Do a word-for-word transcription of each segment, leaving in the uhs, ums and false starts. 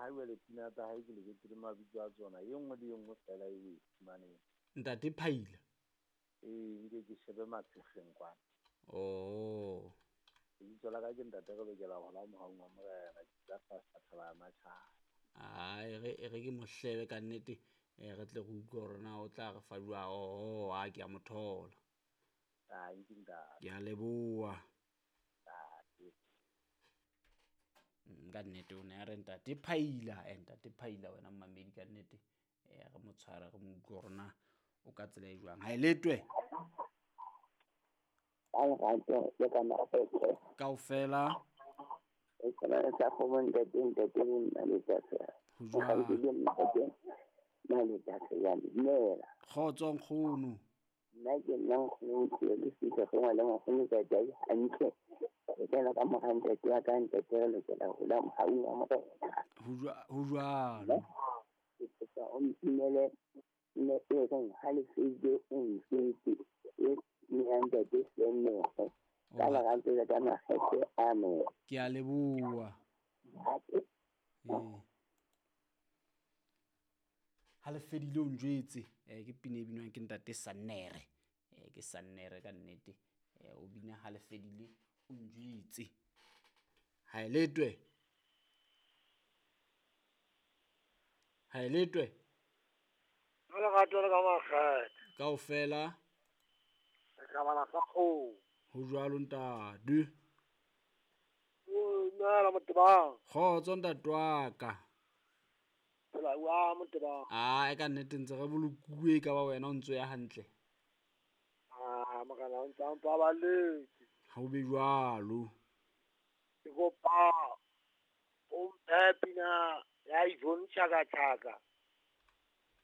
ha jwale pina tsa hae ke lebetse le mabitso a tsona. E nngwe le e nngwe fela e o e fumaneng. Ntate Phaila. Ee, nke ke shebe matshefeng kwana. Oh. Lebitso la ka ke ntate re lokela ho la mohaung wa Morena, ke tla fasta thaba ya matjhaba. Ai re e re ke mohlebe ka nnete, eh re tle re utlwe hore na o tla re fa jwang. Oh, a ke a mo thola. Ai ke ntate. Ke a leboha. Ntate. Mm, ka nnete o ne a re ntate Phaila, eh ntate Phaila wena mmamedi ka nnete. Eh re mo tshware re mo utlwe hore na o ka tsela e jwang. Ha e letwe. Ka lerato le ka makgethe. Kaofela. E tshwana sa kgomo ntate ntate le Mmaletsatsi. Ho jwang? Ntate ntate Mmaletsatsi ya dumela. Kgotso nkgono. Nna ke nna nkgono o le fihla go ngwana nkgono ka jai hantle. Ke tsena ka mora ntate wa ka ntate re lokela ho la mohaung wa Morena. Ho jwa ho jwalo. Ke kopa o mpinele ne e reng ha le fedile o ntjwetse e nna ntate Senoge. Ka lerato le ka makgethe, amen. Ke a leboha. Hape. Ee. Ha le fedile o njwetse, eh ke pina e binwang ke ntate Sannere. Eh ke Sannere ka nnete. Eh o bina ha le fedile o njwetse. Ha e letwe. Ha e letwe. Ka lerato le ka makgethe. Kaofela. Re tla bala sa kgomo. Ho jwalo ntate. O dumela Motebang. Kgotso ntate wa ka. Phela wa Motebang. Ah, e ka nnete ntse re bolokuwe ka ba wena o ntso ya hantle. Ah, morena o ntse a mpabaletse. Ha o be jwalo. Ke kopa o mphe pina ya Yvonne Chaka Chaka.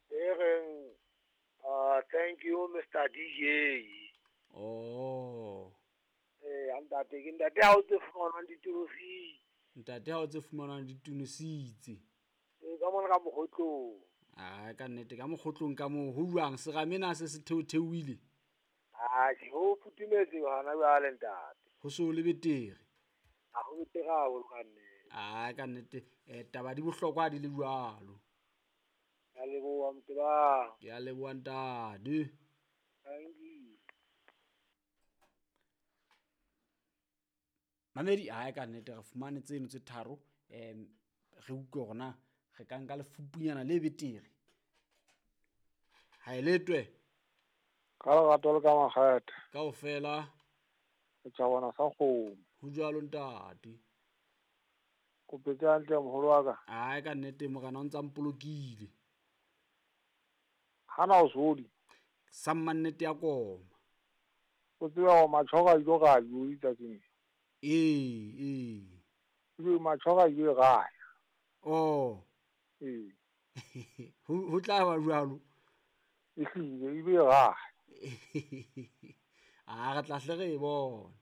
E reng, uh, thank you Mister D J. Oh. Eh, ntate ke ntate ha o tse fumanwang ditonositse. Ntate ha o tse fumanwang ditonositse. Eh, ka mona ka mokgotlong. Ah, ka nnete ka mokgotlong ka moo ho jwang serame na se se theotheohile? Ah, ho futhumetse hona jwale ntate. Ho so le betere. Ha ho betere haholo ka nnete. Ah, ka nnete eh taba di bohlokwa di le jwalo. Ke a leboha Motebang. Ke a leboha ntate. Thank you. Mamedi ha ka nnete re fumane tseno tse tharo, em re utlwe hore na re ka nka lefupunyana le betere. Ha e letwe. Ka lerato le ka makgethe. Kaofela. Re tla bona sa kgomo. Ho jwalo ntate. Kopetse hantle moholo wa ka. Ha ka nnete morena o ntsa mpolokile. Hana o sodi. Sa mannete ya koma. O tseba hore matjhoga a ile ga yo itsatsing. Ee, ee. Ke matjhoga a ile ga. Oh. Ee. Ho ho tla ba jwalo. Ehlile e be ga. Ah, re tla hle re e bona.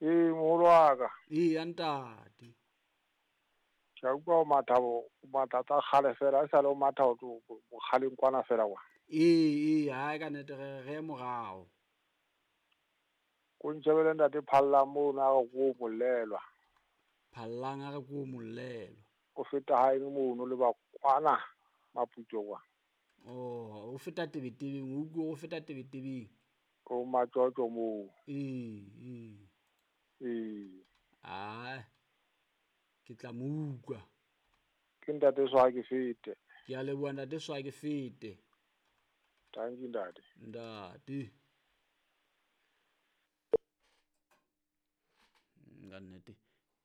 Ee, moholo wa ka. Ee, ya ntate. Ke a utlwa o matha bo, o matha tsa kgale fela, e sale o matha ho tlo bokgaleng kwana fela kwa. Ee, ee, ha ka nnete re re morao. Ko ntjhebele ntate Phallang mono a re ko molelwa. Phallang a re ko molelwa. O feta haeno mono le ba kwana Maputso kwa. Oh, o feta tebetebeng, o utlwe o feta tebetebeng. O matsotso moo. Ee, ee. Ee. Ah. Ke tla mo utlwa. Ke ntate Swa ke fete. Ke a leboha ntate Swa ke fete. Thank you ntate. Ntate. Ka nnete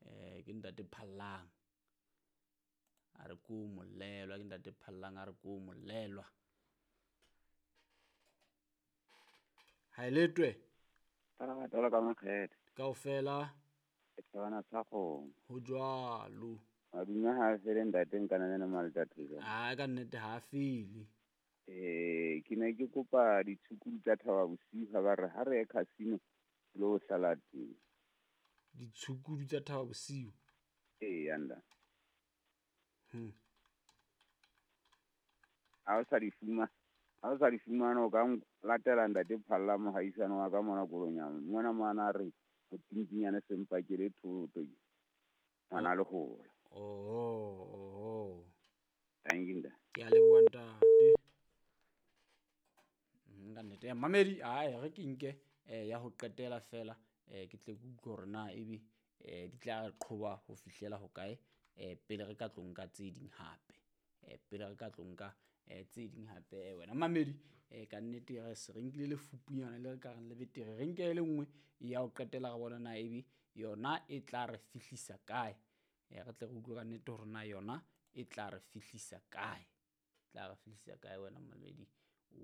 eh ke ntate Phallang. A re ko molelwa, ke ntate Phallang a re ko molelwa. Ha e letwe. Ka lerato le ka makgethe. Kaofela. Ke thabana sa kgomo. Ho jwalo. Madume ha a fele ntate nka na Maletatsi. Ah, ka nnete ha a fele. Eh, ke ne ke kopa ditshukudu tsa Thaba Bosiu ha ba re ha re ye casino lo hlala teng. Ditshukudu tsa Thaba Bosiu. Ee, anda. Hmm. Ha o sa di fuma, ha o sa di fumana o ka latela ntate Phalla mohaisane wa ka mona Kolonyama. Mona mona re ho tintinyane sempakele thoto. Ngwana le hola. Oho, oho. Thank you, ntate. Ke a leboha ntate. Mm, ka nnete. Eh, Mamedi, ae re ke nke eh, ya ho qetela fela eh, ke tle ke utlwe hore na ebe eh, di tla re qhoba ho fihlela hokae eh, pele re ka tlo nka tse ding hape. Eh, pele re ka tlo nka eh, tse ding hape eh, wena mamedi eh, ka nnete re se re nkile lefupunyana le re ka reng le betere re nke e le nngwe ya ho qetela re bona na ebe yona e tla re fihlisa kae. Eh, re tle re utlwe ka nnete hore na yona e tla re fihlisa kae. Tla re fihlisa kae wena mamedi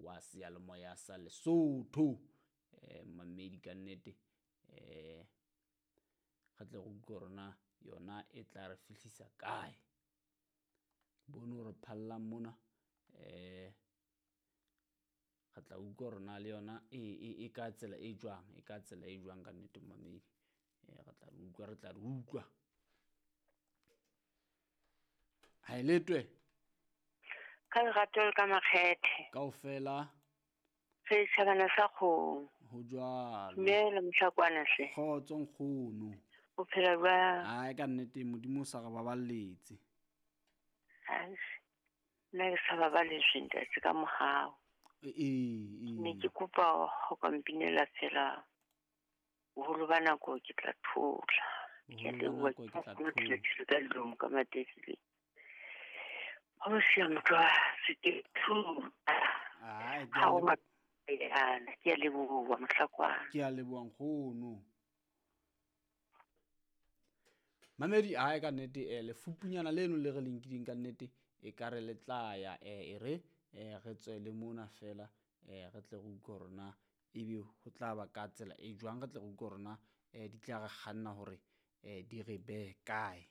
wa seyalemoya sa Lesotho. Eh, mamedi ka nnete eh, re tle re utlwe hore na yona e tla re fihlisa kae. Bone hore phallang mona eh, re tla utlwa hore na le yona e, e, e ka tsela e jwang, e ka tsela e jwang ka nnete mamedi. Eh, re tla re utlwa, re tla re utlwa. Ha e letwe. Ka lerato le ka makgethe. Kaofela. Re tjhabana sa kgomo. Ho jwalo. Dumela mohlakwana hle. Kgotso nkgono. O phela jwang? Ai ka nnete Modimo o sa re baballetse. Ai, nna ke sa baballetswe ntate ka mohau. E, e, e. Ne ke kopa ho ka mpinela fela boholo ba nako ke tla thola. Ke a Boholo ba leboha, nako ke tla ke thola. thole ka dilomo ka matebele. Ho siya motho a se ke thola. Ai, ke Ha a o lebo- ma- ke a leboha mohlakwana. Ke a leboha nkgono. Mamedi ae ka nnete eh, lefupunyana leno le re le nkileng ka nnete e ka re le tla ya eh, e re eh, re tswele mona fela eh, re tle re utlwe hore na ebe ho tla ba ka tsela e jwang, re tle re utlwe hore na eh, di tla re kganna hore eh, di re behe kae.